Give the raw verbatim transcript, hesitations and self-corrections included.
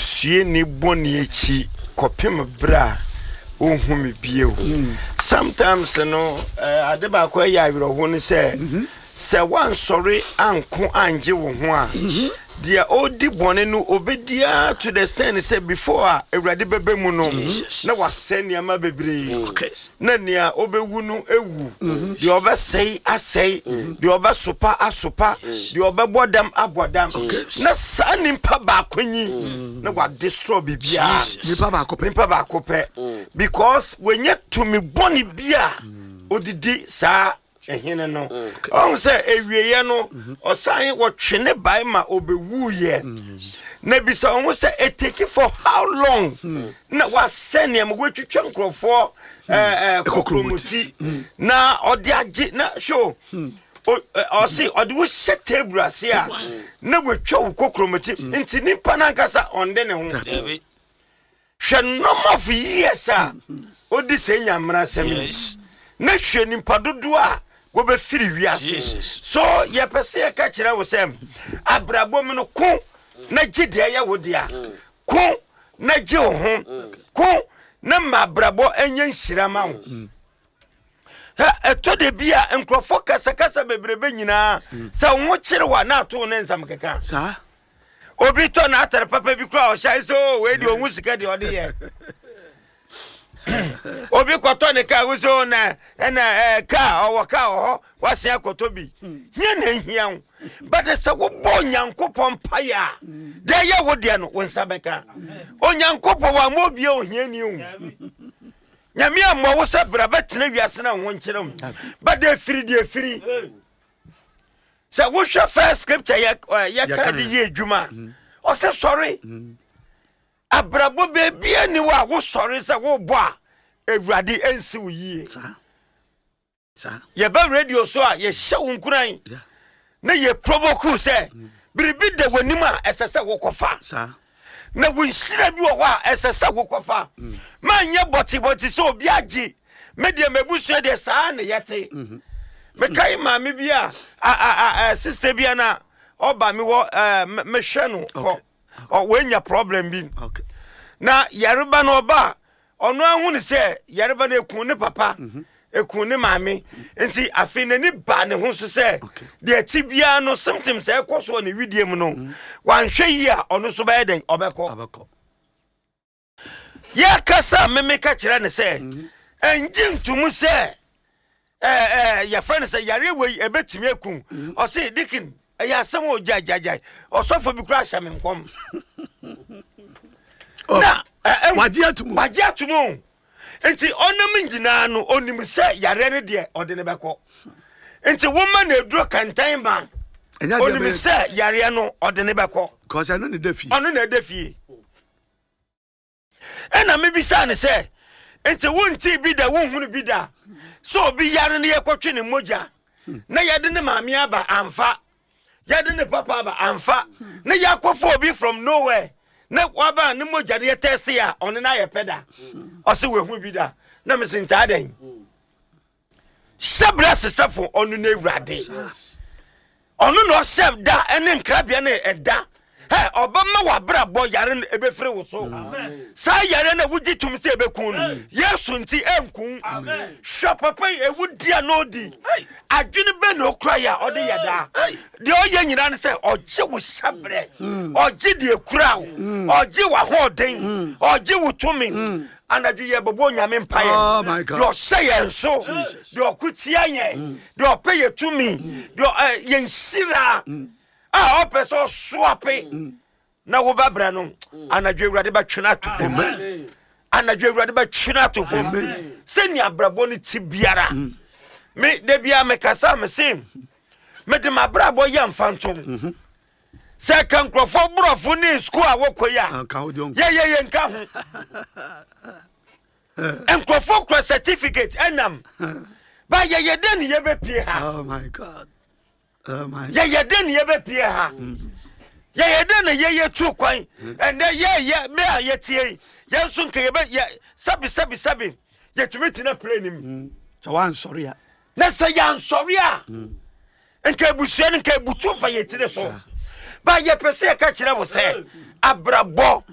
Busuani bɔne akyi kɔpem berɛ a ɔnhu me bio. Sometimes no, eh, ade baako ɛyɛ awerɛho no sɛ sɛ woansɔre anko angye wo ho a, deɛ ɔdi bɔne no ɔbɛdiaa to the extent sɛ before a Awurade bɛbɛ mu no na wasɛe nneɛma bebree, Okay. na nea ɔbɛwu no ewu, deɛ ɔbɛsɛe asɛe, deɛ ɔbɛsopa asopa, deɛ ɔbɛbɔ dam abɔ dam, na saa nipa baako nyi na wadestroy biribiara. Jesus. Nipa baako pɛ. Nipa baako pɛ, because wɔnyɛ tumi bɔne bi a odidi saa ɛhene no. Ɔhu sɛ ewieɛ no, ɔsan wɔtwe ne bae ma ɔbɛwuiɛ, na bisa ɔho sɛ ɛtake for how long na wasɛ nneɛma, wɔatwitwa nkurɔfoɔ ɛɛ, ɛɛ, kɔkrɔmoti na ɔde agye na hwɛ o, O- ɛ, ɔse ɔde wo hyɛ table ase a na wɔatwa wo kɔkrɔmoti, nti nipa no ankasa ɔnde ne ho. Dabi. Hwɛ number of years a ɔdi sɛ nyamera asɛm yi, Yes. na hwɛ nipa dodoɔ a wɔbɛfiri wiase. Jesus. So yɛpɛ sɛ yɛka kyerɛ wo sɛ abrabɔ mu no, ko na gye deɛ ɛyɛ wo dea, ko na gye wo ho, ko na ma abrabɔ ɛnyɛ nhyira ma wo. Hɛ, ɛtɔ de bi a nkurɔfoɔ kasakasa bebrebe nyinaa sɛ wo ho kyere wo a, na ato wo ne nsɛm keka. Saa. Obi tɔ n'atare papa bi kora, ɔhyɛ sɛ o, wei deɛ ɔhu sika deɛ ɔde yɛ. Obi kɔtɔ ne kaa, wosɛ o, na ɛna ɛɛ kaa ɔwɔ kaa wɔ hɔ, wasen akɔtɔ bi hia na ehia wo. But sɛ wobɔ Onyankopɔn mpaeɛ a, deɛ ɛyɛ wo deɛ no, wo nsa bɛka. Onyankopɔn wa ma obie ohiani o. Nyame ammɔ wo sɛ bra bɛtena wiase na wo ho nkyerɛ wo, but efiri deɛ efiri sɛ wohwɛ first scripture yɛ ɛ, yɛka Yɛka de yɛ. yɛ adwuma, ɔsɛ sɔre. Abrabɔ beebia ni hɔ a wosɔre sɛ wobɔ a Awurade ɛnsi wo yie. Saa saa. Yɛbɛ radio so a, yɛhyɛ wo nkuran Yeah. na yɛ provoke sɛ biribi da w'anim a ɛsɛ sɛ wokɔfa, saa na wo nhyira bi wɔ hɔ a ɛsɛ sɛ wokɔfa. Manyɛ bɔtebɔte sɛ obi agye me deɛ, mabusua deɛ, saa ne yɛte. Mekae maame bi a a- a- a- sister bi a na ɔba me wɔ ɛɛ, me- mehwɛ no kɔ. Ɔ- wɔanya problem bi okay na yareba no ɔba a, ɔno ahu ne sɛ yareba no eku ne papa, eku ne maame, nti afei n'ani ba ne ho so sɛ Okay. deɛ ɛti biara no, symptoms a ɛkɔ so wɔ ne widie mu no, wanhwɛ yie a, ɔno nso bɛyɛ dɛn? Ɔbɛkɔ. Abɛkɔ. Yɛkasa, meme ka kyerɛ ne sɛ ɛngye ntomu sɛ ɛɛ ɛɛ yɛfrɛ no sɛ yare wei ɛbɛtumi aku. Ɔse, "Deacon, ɛyɛ asɛm a ɔgyaegyaegyae, ɔsɔfo bi kora ahyɛ me nkɔm." Oh, na ɛ- ɛ- wagye ato mu. Wagye ato mu o. Nti ɔnam nyinaa no, ɔnim sɛ yareɛ no deɛ, ɔde ne bɛkɔ, nti woma no aduro kɛntɛn ma ɛnyɛ adeɛ ɔnim bɛyɛ sɛ yareɛ no, ɔde ne bɛkɔ. Cause ɛno ne da fie. Ɔno na ɛda fie. Ɛna mebisa ne sɛ, nti wontii bi da, wonhunu bi da sɛ obi yare no, yɛkɔtwe ne mogya na yɛde ne maame aba amfa, yɛde ne papa aba amfa, na yɛakɔfa obi from nowhere na waba ne mogya no yɛtɛse a, ɔno no ayɛ pɛ da? Ɔse wahu bi da. Na mese, ntaa dɛn hyɛ berɛ sesɛfo, ɔno no Awurade, ɔno na ɔhyɛ da ɛne nkrabea no ɛda ɛ ɔbɛma w'abrabɔ yare no ɛbɛfiri wo so. Saa yare no a wogye tom sɛ ɛbɛku no, Yesu nti ɛnku. Hwɛ papa yi, ɛwu di a na ɔdi adwene bɛ na ɔkura yɛ a ɔde yɛ daa. Deɛ ɔyɛ nyinaa no sɛ ɔgye wo hyɛberɛ, ɔgye deɛ kura wo, ɔgye w'ahoɔden, ɔgye wo tumi. Anadwo yɛ bɛbɔ Onyame mpaeɛ. Oh my God. Deɛ ɔhyɛ yɛn so, deɛ ɔko tia yɛn, deɛ ɔpɛ yɛ tumi, deɛ ɔ- ɛ, yɛn hyira a ɔpɛ sɛ ɔsoape na wobɛbrɛ no, anadwo Awurade bɛtwe no ato fam. Anadwo Awurade bɛtwe no ato fam. Sɛnea abrabɔ no ti biara, me da biara mekasa, me se mede m'abrabɔ yɛ mfa ntom sɛ ka nkurɔfoɔ borɔfo ne sukuu a wɔkɔ yi a Anka wo deɛ ɔnkɔ. yɛyɛ yɛ nka ho. Nkurɔfoɔ kura certificate ɛnam ba, yɛyɛ dɛ ne yɛbɛpie ha. Oh my God, oh my. Yɛyɛ dɛ ne yɛbɛpie ha, yɛyɛ dɛ ne yɛyɛ tu kwan ɛnɛ yɛyɛ me a yɛtie yi, yɛn nso nka yɛbɛ yɛ sɛbi sɛbi sɛbi, yɛtumi tena plane mu. Sɛ woansɔre a. Na sɛ yɛansɔre a, nka abusua no nka abutu fa yɛtiri so ba. Yɛpɛ sɛ yɛka kyerɛ wo sɛ abrabɔ